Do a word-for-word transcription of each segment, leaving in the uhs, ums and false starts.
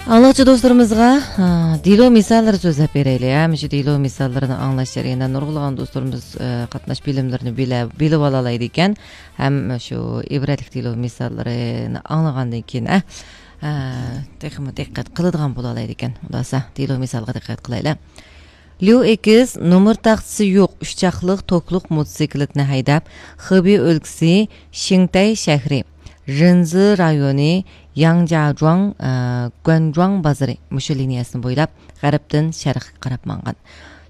ئاڭلىغۇچى دوستلىرىمىزغا، ئا، دېلو مىساللىرى سۆزلەپ بېرەيلى، ھە. مۇشۇ دېلو مىساللىرىنى ئاڭلاش جەريانىدا نۇرغۇنلىغان دوستلىرىمىز، ئا، قاتناش بىلىملىرىنى بىلە-، بىلىۋالالايدىكەن. ھەم شۇ ئىبرەتلىك دېلو مىساللىرىنى ئاڭلىغاندىن كېيىن، ئە، ئە، تېخىمۇ دىققەت قىلىدىغان بولالايدىكەن. ئۇنداقسا، دېلو مىسالغا دىققەت قىلايلى. ليۇ ئېكس نومۇر تاختىسى يوق ئۈچ چاقلىق توكلۇق موتوسىكلىتىنى ھەيدەپ، خېبېي ئۆلكىسى شىڭتەي شەھىرى، رېنزى رايونى، ياڭجياجۇاڭ، ئە، گۇەنجۇاڭ بازىرى مۇشۇ لىنىيەسىنى بويلاپ، غەربتىن شەرققە قاراپ ماڭغان.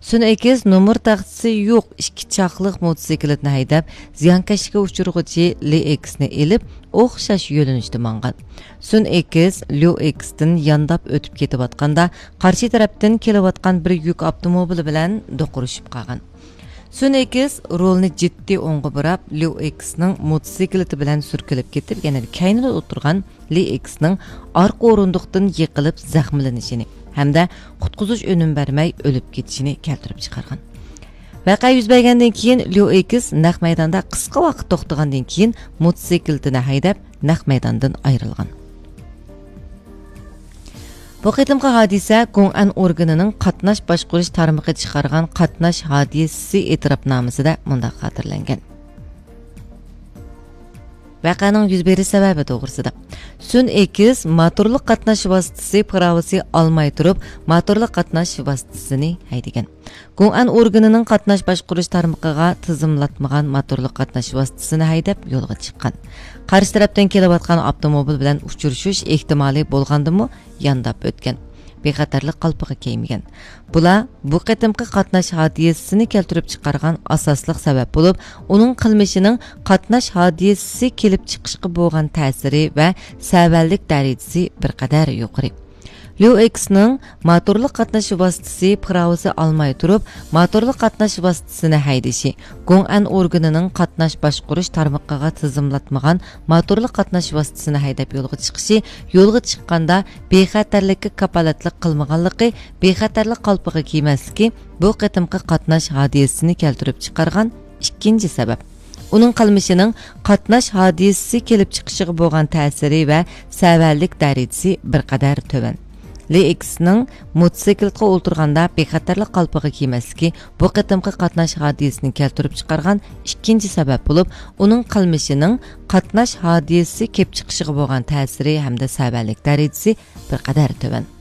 سۈن ئېكس نومۇر تاختىسى يوق ئىككى چاقلىق موتوسىكلىتىنى ھەيدەپ، زىيانكەشلىككە ئۇچرىغۇچى لى ئېكسنى ئېلىپ، ئوخشاش يۆنىلىشتە ماڭغان. سۈن ئېكس ليۇ ئېكستىن يانداپ ئۆتۈپ كېتىۋاتقاندا، قارشى تەرەپتىن كېلىۋاتقان بىر يۈك ئاپتوموبىلى بىلەن دوقۇرۇشۇپ قالغان. سۈن ئېكس رولنى جىددىي ئوڭغا بۇراپ، ليۇ ئېكسنىڭ موتوسىكلىتى بىلەن سۈركىلىپ كېتىپ، يەنە كەينىدە ئولتۇرغان لى ئېكسنىڭ ئارقا ئورۇندۇقتىن يىقىلىپ زەخىملىنىشىنى ھەمدە قۇتقۇزۇش ئۈنۈم بەرمەي ئۆلۈپ كېتىشىنى كەلتۈرۈپ چىقارغان. ۋەقە يۈز بەرگەندىن كېيىن، ليۇ ئېكس نەق مەيداندا قىسقا ۋاقىت توختىغاندىن كېيىن، موتوسىكلىتىنى ھەيدەپ، نەق مەيداندىن ئايرىلغان. بۇ قېتىمقى ھادىسە گوڭئەن ئورگىنىنىڭ قاتناش باشقۇرۇش تارمىقى چىقارغان قاتناش ھادىسىسى ئېتىراپنامىسىدە مۇنداق خاتىرىلەنگەن. ۋەقەنىڭ يۈز بېرىش سەۋەبى توغرىسىدا. سۈن ئېكس موتورلۇق قاتناش ۋاسىتىسى پىراۋىسى ئالماي تۇرۇپ، موتورلۇق قاتناش ۋاسىتىسىنى ھەيدىگەن. گوڭئەن ئورگىنىنىڭ قاتناش باشقۇرۇش تارمىقىغا تىزىملاتمىغان موتورلۇق قاتناش ۋاسىتىسىنى ھەيدەپ يولغا چىققان. قارشى تەرەپتىن كېلىۋاتقان ئاپتوموبىل بىلەن ئۇچرىشىش ئېھتىمالى بولغاندىمۇ يانداپ ئۆتكەن. بىخەتەرلىك قالپىقى كىيمىگەن. بۇلار بۇ قېتىمقى قاتناش ھادىسىسىنى كەلتۈرۈپ چىقارغان ئاساسلىق سەۋەب بولۇپ، ئۇنىڭ قىلمىشىنىڭ قاتناش ھادىسىسى كېلىپ چىقىشقا بولغان تەسىرى ۋە سەۋەنلىك دەرىجىسى بىر قەدەر يۇقىرى. ليۇ ئېكسنىڭ موتورلۇق قاتناش ۋاسىتىسى پىراۋىسى ئالماي تۇرۇپ، موتورلۇق قاتناش ۋاسىتىسىنى ھەيدىشى، گوڭئەن ئورگىنىنىڭ قاتناش باشقۇرۇش تارمىقىغا تىزىملاتمىغان موتورلۇق قاتناش ۋاسىتىسىنى ھەيدەپ يولغا چىقىشى، يولغا چىققاندا بىخەتەرلىككە كاپالەتلىك قىلمىغانلىقى، بىخەتەرلىك قالپىقى كىيمەسلىكى بۇ قېتىمقى قاتناش ھادىسىسىنى كەلتۈرۈپ چىقارغان ئىككىنچى سەۋەب. ئۇنىڭ قىلمىشىنىڭ قاتناش ھادىسىسى كېلىپ چىقىشىغا بولغان تەسىرى ۋە سەۋەنلىك دەرىجىسى بىر قەدەر تۆۋەن. لى ئېكسنىڭ موتوسىكلىتقا ئولتۇرغاندا بىخەتەرلىك قالپىقى كىيمەسلىكى بۇ قېتىمقى قاتناش ھادىسىسىنى كەلتۈرۈپ چىقارغان ئىككىنچى سەۋەب بولۇپ، ئۇنىڭ قىلمىشىنىڭ قاتناش ھادىسىسى كېلىپ چىقىشىغا بولغان تەسىرى ھەمدە سەۋەنلىك دەرىجىسى بىر قەدەر تۆۋەن.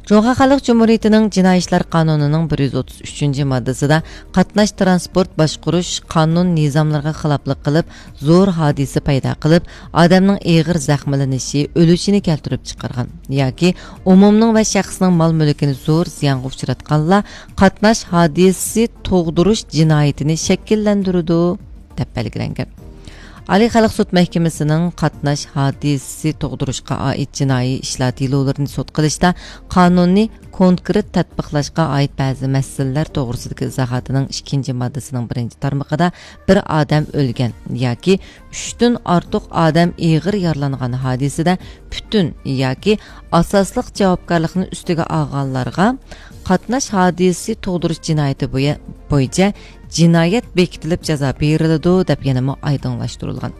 جۇڭخۇا خەلق جۇمھۇرىيىتىنىڭ جىنايى ئىشلار قانۇنىنىڭ بىر يۈز ئوتتۇز ئۈچىنچى ماددىسىدا قاتناش تىرانسپورت باشقۇرۇش قانۇن نىزاملىرىغا خىلاپلىق قىلىپ، زور ھادىسە پەيدا قىلىپ، ئادەمنىڭ ئېغىر زەخىملىنىشى، ئۆلۈشىنى كەلتۈرۈپ چىقارغان ياكى ئومۇمنىڭ ۋە شەخسنىڭ مال-مۈلكىنى زور زىيانغا ئۇچراتقانلار قاتناش ھادىسىسى تۇغدۇرۇش جىنايىتىنى شەكىللەندۈرىدۇ، دەپ بەلگىلەنگەن. ئالىي خەلق سوت مەھكىمىسىنىڭ قاتناش ھادىسىسى تۇغدۇرۇشقا ئائىت جىنايى ئىشلار دېلولىرىنى سوت قىلىشتا قانۇننى كونكرېت تەتبىقلاشقا ئائىت بەزى مەسىلىلەر توغرىسىدىكى ئىزاھاتىنىڭ ئىككىنچى ماددىسىنىڭ بىرىنچى تارمىقىدا بىر ئادەم ئۆلگەن ياكى ئۈچتىن ئارتۇق ئادەم ئېغىر يارىلانغان ھادىسىدە پۈتۈن ياكى ئاساسلىق جاۋابكارلىقنى ئۈستىگە ئالغانلارغا قاتناش ھادىسىسى تۇغدۇرۇش جىنايىتى بويا-، بويىچە جىنايەت بېكىتىلىپ جازا بېرىلىدۇ، دەپ يەنىمۇ ئايدىڭلاشتۇرۇلغان.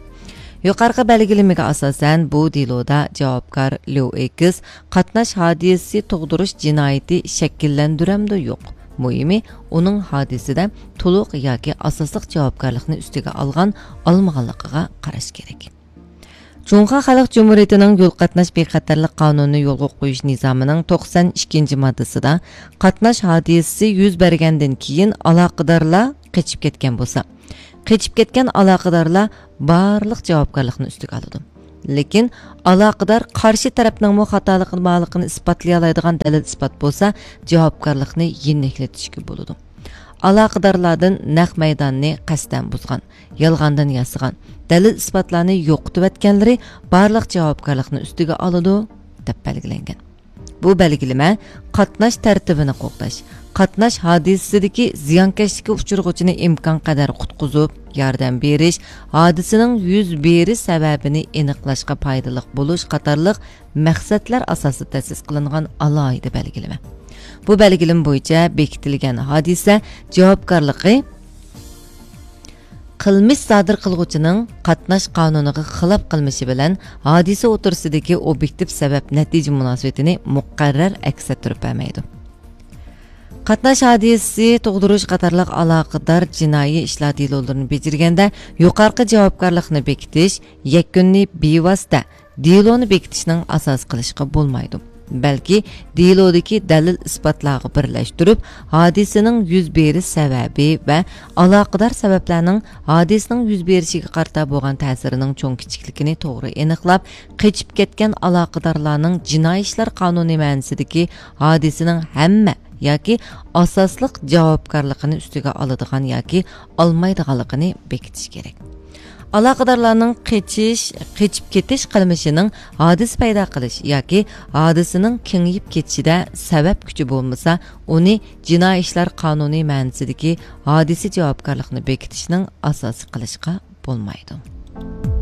يۇقىرىقى بەلگىلىمىگە ئاساسەن، بۇ دېلودا جاۋابكار ليۇ ئېكس قاتناش ھادىسىسى تۇغدۇرۇش جىنايىتى شەكىللەندۈرەمدۇ يوق، مۇھىمى ئۇنىڭ ھادىسىدە تولۇق ياكى ئاساسلىق جاۋابكارلىقنى ئۈستىگە ئالغان، ئالمىغانلىقىغا قاراش كېرەك. جۇڭخۇا خەلق جۇمھۇرىيىتىنىڭ يول قاتناش بىخەتەرلىك قانۇنىنى يولغا قويۇش نىزامىنىڭ توقسان ئىككىنچى ماددىسىدا، قاتناش ھادىسىسى يۈز بەرگەندىن كېيىن ئالاقىدارلار قېچىپ كەتكەن بولسا، قېچىپ كەتكەن ئالاقىدارلار بارلىق جاۋابكارلىقنى ئۈستىگە ئالىدۇ. لېكىن ئالاقىدار قارشى تەرەپنىڭمۇ خاتالىقى بارلىقىنى ئىسپاتلىيالايدىغان دەلىل-ئىسپات بولسا، جاۋابكارلىقنى يېنىكلىتىشكە بولىدۇ. ئالاقىدارلاردىن نەق مەيداننى قەستەن بۇزغان، يالغاندىن ياسىغان، دەلىل-ئىسپاتلارنى يوقىتىۋەتكەنلىرى بارلىق جاۋابكارلىقنى ئۈستىگە ئالىدۇ، دەپ بەلگىلەنگەن. بۇ بەلگىلىمە قاتناش تەرتىپىنى قوغداش، قاتناش ھادىسىسىدىكى زىيانكەشلىككە ئۇچرىغۇچىنى ئىمكانقەدەر قۇتقۇزۇپ، ياردەم بېرىش، ھادىسىنىڭ يۈز بېرىش سەۋەبىنى ئېنىقلاشقا پايدىلىق بولۇش قاتارلىق مەقسەتلەر ئاساسىدا تەسىس قىلىنغان ئالاھىدە بەلگىلىمە. بۇ بەلگىلىمە بويىچە بېكىتىلگەن ھادىسە جاۋابكارلىقى قىلمىش سادىر قىلغۇچىنىڭ قاتناش قانۇنىغا خىلاپ قىلمىشى بىلەن ھادىسە ئوتتۇرىسىدىكى ئوبيېكتىپ سەۋەب نەتىجە مۇناسىۋىتىنى مۇقەررەر ئەكس ئەتتۈرۈپ بەرمەيدۇ. قاتناش ھادىسىسى تۇغدۇرۇش قاتارلىق ئالاقىدار جىنايى ئىشلار دېلولىرىنى بېجىرگەندە يۇقارقى جاۋابكارلىقنى بېكىتىش، يەكۈننى بىۋاسىتە دېلونى بېكىتىشنىڭ ئاساسى قىلىشقا بولمايدۇ، بەلكى دېلودىكى دەلىل ئىسپاتلارغا بىرلەشتۈرۈپ، ھادىسىنىڭ يۈز بېرىش سەۋەبى ۋە ئالاقىدار سەۋەبلەرنىڭ ھادىسىنىڭ يۈز بېرىشىگە قارىتا بولغان تەسىرىنىڭ چوڭ كىچىكلىكىنى توغرا ئېنىقلاپ، قېچىپ كەتكەن ئالاقىدارلارنىڭ جىنايى ئىشلار قانۇنى مەنىسىدىكى ھادىسىنىڭ ھەممە ياكى ئاساسلىق جاۋابكارلىقىنى ئۈستىگە ئالىدىغان ياكى ئالمايدىغانلىقىنى بېكىتىش كېرەك. ئالاقىدارلارنىڭ قېچىش، قېچىپ كېتىش قىلمىشىنىڭ ھادىسە پەيدا قىلىش ياكى ھادىسىنىڭ كېڭىيىپ كېتىشىدە سەۋەب كۈچى بولمىسا، ئۇنى جىنايى ئىشلار قانۇنى مەنىسىدىكى ھادىسە جاۋابكارلىقىنى بېكىتىشنىڭ ئاساسى قىلىشقا بولمايدۇ.